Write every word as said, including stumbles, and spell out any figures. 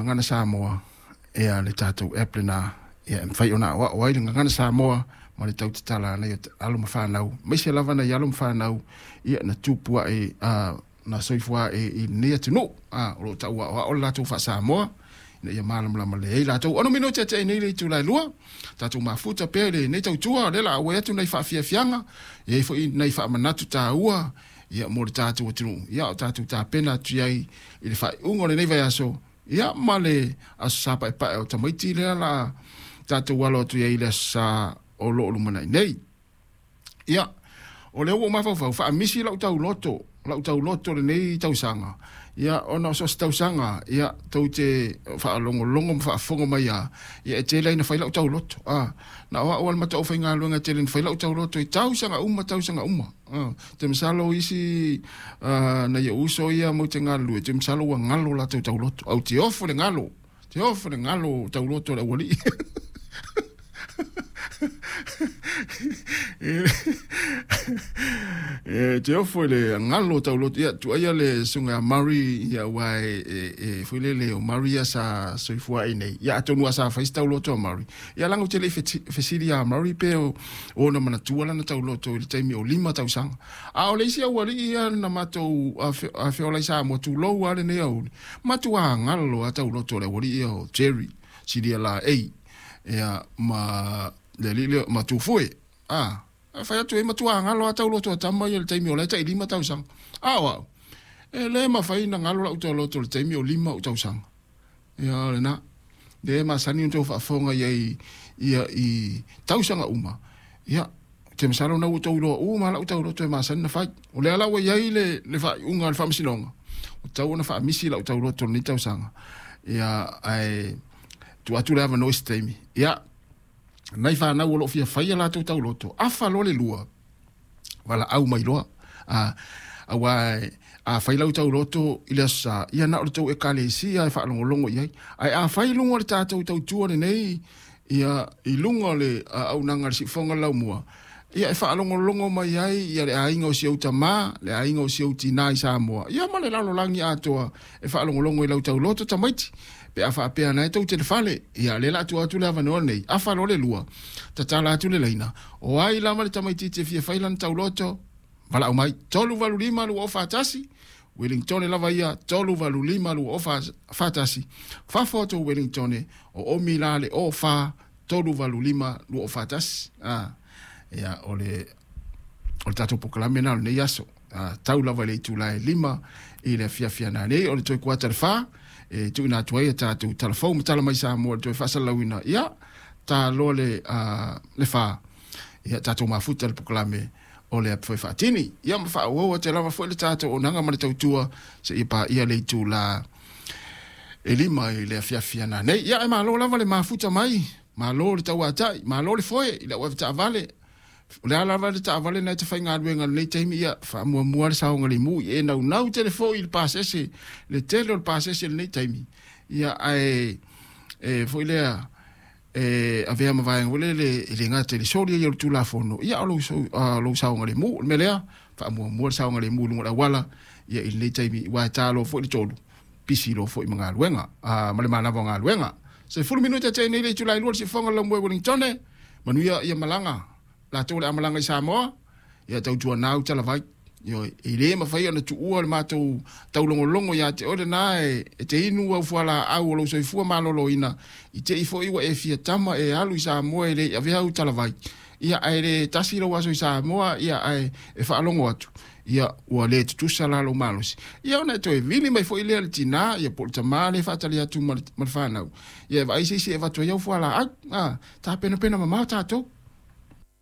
Gagana Samoa, ia le tatou app lena, ia e mafai ona aoao ai le Gagana Samoa ma le tautatala nai alo ma fanau, maise lava nai alo ma fanau, ia na tupu ae na soifua ae i lenei atunuu, o lo o tauaoao le latou faa-Samoa, ina ia malamalama lelei latou. Ono minute ate nei le itula e lua, tatou mafuta pea i lenei tautua, o lea o le a auai atu nai faafiafiaga, e i ai foi nai faamanatu taua, ia mo le tatou atunuu, ia o tatou tapena atu ai i le faaiuga o lenei vaiaso, ia ma le aso Sa paepae o tamaiti lea la tatou alo atu ai i le aso Sa o lo o lumanai nei. Ia, o lea ua ou mafaufau, faamisi lau tauloto, lau tauloto lenei tausaga, ia ona o so o se tausaga, ia tou te faalogologo ma faafofoga mai lava, ia e tele ai na fai lau tauloto. A, na o au lava le mataufaigaluega e tele na fai lau tauloto i tausaga uma, tausaga uma. A, te masalo isi nai ou uso ia matou te galulue, te masalo ua galo latou tauloto. Au te ofo le galo, te ofo le galo tauloto o le aualii. E te ofo i le galo tauloto, ia tuuaia le susuga ia Murray, ia aua e, e, e foi lele o Murray ia sa soifua ai nei. Ia atonu lava sa fai se tauloto a Murray. Ia leaga ou te le i fesili ia Murray pe o ona manatua lana tauloto i le taimi o lima tausaga. A o le isi aualii ia na matou afeola i Samoa, tulou lava lenei aoauli, matua galo lava tauloto o le aualii ia o Jerry Silia Laei, ia ma le alii lea ma Tufue. A, fai atu ai matua galo lava tauloto a tama ia i le taimi o la e tai lima tausaga. A o au, e le mafai ona galo lau tauloto i le taimi o lima ou tausaga. Ia o lena, lea e masani ona outou faafofoga i ai ia i tausaga uma, ia, te masalo na ua outou iloa uma lau tauloto e masani ona fai. O lea la ua i ai le, le faaiuga a le faamasinoga, ua tatau ona faamisi lau tauloto i lenei tausaga. Ia, ae tuu atu le avanoa i se taimi. Ia, nai fanau o lo o fia fai a latou tauloto, afa loa le lua, valaau mai loa. A, aua a fai lau tauloto i le aso Sa, ia na o le tou ekalesia e faalogologo i ai. Ae a fai i luga o le tatou tautua lenei, ia i luga o le auaunaga a le siufofoga o le laumua, ia e faalogologo mai ai ia le aiga o si ou tamā, le aiga o si ou tinā i Samoa, ia ma le lalolagi atoa e faalogologo i lau tauloto tamaiti. Pe a faapea na e tou te le fale, ia lea o le a tuu atu le avanoa lenei, afa loa le lua, tatala atu le laina, o ai lava le tamaitiiti e fia fai lana tauloto, valaau mai, tolu valu lima lua o fa tasi, Wellingtone lava ia, tolu valu lima lua o fa tasi, fafo atu o Wellingtone, o omi la le o fa, tolu valu lima lua o fa tasi. Ah, ia, o le, o le tatou polokalame lena o lenei aso. Ah, tau lava i le itula e lima i le afiafi ana nei, o le toe kuata le fa, e tuuina atu ai a tatou tala fou ma tala mai Samoa i le toe faasalalauina, ia, ta loa le, uh, le fa, ia, tatou mafuta le polokalame o le api foi faatini. Ia, ma faaauau atu lava foi le tatou auaunaga ma le tautua seia paia le itula e lima i le afiafi ana nei. Ia, e malo lava le mafuta mai, malo le tauatai, malo le foe i le au avetaavale. O le a lava le taavale na e te faigaluega i lenei taimi, ia, faamuamua le saogalemu i e naunau tele foi i le pasese, le tele o le pasese i lenei taimi. Ia, ae e foi lea, e avea ma vaega foi lele e le gata i le soli ai o le Tulafono, ia, o lou, lou saogalemu. O le mea lea, faamuamua le saogalemu i luga o le auala, ia, i lenei taimi, aua e ta loa foi le tolu, pisi loa foi ma galuega, ma le manava o galuega. Sefulu minute tea nei le itula e lua le siufofoga o le laumua i Wellingtone, manuia ia malaga, latou o le a malaga i Samoa, ia tautuanau talavai. Ioe, e le mafai ona tuua le matou taulogologo ia te oe lena e, e te inu au fualaau o lou soifua maloloina, i te i foi ua e fia tama e alu i Samoa e le i avea au talavai, ia ae le tasi lou aso i Samoa, ia ae e faalogo atu, ia ua le tutusa la lou malosi. Ia ona e toe vili mai foi lea le tinā, ia po o le tamā lea e faatali atu ma le, ma le fanau, ia e vaai se isi e avatu ai au fualaau. A, tapenapena mamao tatou.